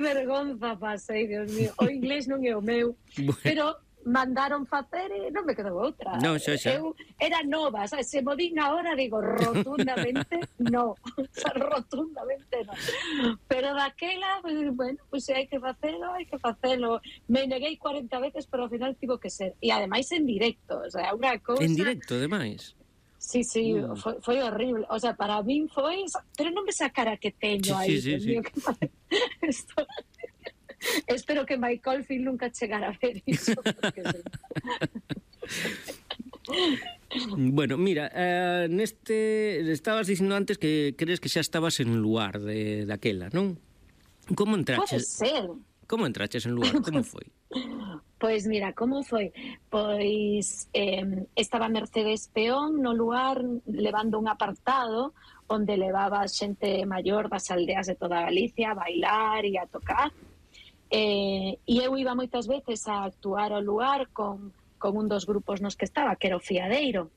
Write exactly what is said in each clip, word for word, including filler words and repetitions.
vergonza pasei, Dios mío. O inglés non é o meu, Bueno. pero mandaron facer e non me quedou outra. Non, xa, xa. Eu era nova, sabes? Se mo din agora, digo rotundamente no. O sea, rotundamente no. Pero daquela, pues, bueno, pues se hai que facelo, hai que facelo. Me neguei cuarenta veces, pero ao final tivo que ser. E ademais en directo, o sea, unha cousa... En directo, ademais. Sí, sí, Uh. foi, foi horrible. O sea, para min foi... Pero non ves a cara que teño Sí, aí. sí, sí, Dios sí. mío, que mal. Esto... Espero que Michael Field nunca chegara a ver iso. Porque sí. Bueno, mira, eh, neste... Estabas dicindo antes que crees que xa estabas en lugar de daquela, non? Como Pode entraches? ser. Como entraches en lugar? Como foi? Pois mira, como foi? Pois eh, estaba Mercedes Peón no lugar levando un apartado onde levaba xente maior das aldeas de toda Galicia a bailar e a tocar. Eh, e eu iba moitas veces a actuar ao lugar con, con un dos grupos nos que estaba, que era o Fiadeiro.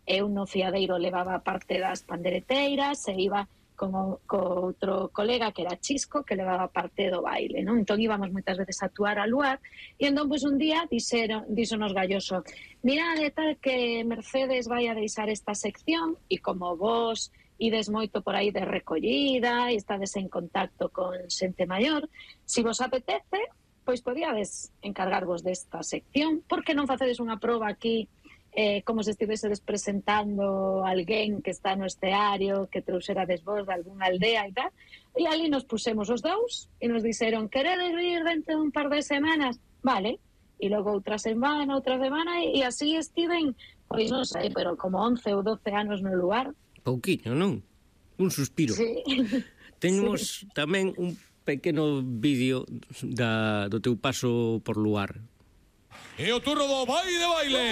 Eu no Fiadeiro levaba parte das pandereteiras e iba con, o, con outro colega que era Chisco, que levaba parte do baile, non? Entón íbamos moitas veces a actuar ao lugar e entón pois un día dixeron, díxonos Galloso, mirade tal que Mercedes vai a deixar esta sección e como vos ides moito por aí de recollida e estades en contacto con xente maior, si vos apetece, pois podíades encargarvos desta sección, porque non facedes unha proba aquí eh, como se estivesedes presentando alguén que está no esteario, que trouxerades vos de algunha aldea e tal, e ali nos pusemos os dous e nos dixeron, queredes vir dentro de un par de semanas? Vale, e logo outra semana, outra semana, e, e así estiven, pois non sei, pero como once ou doce anos no lugar. Pouquiño, non? Un suspiro. Sí. Temos sí. tamén un pequeno vídeo da, do teu paso por lugar. E o turno do baile de baile.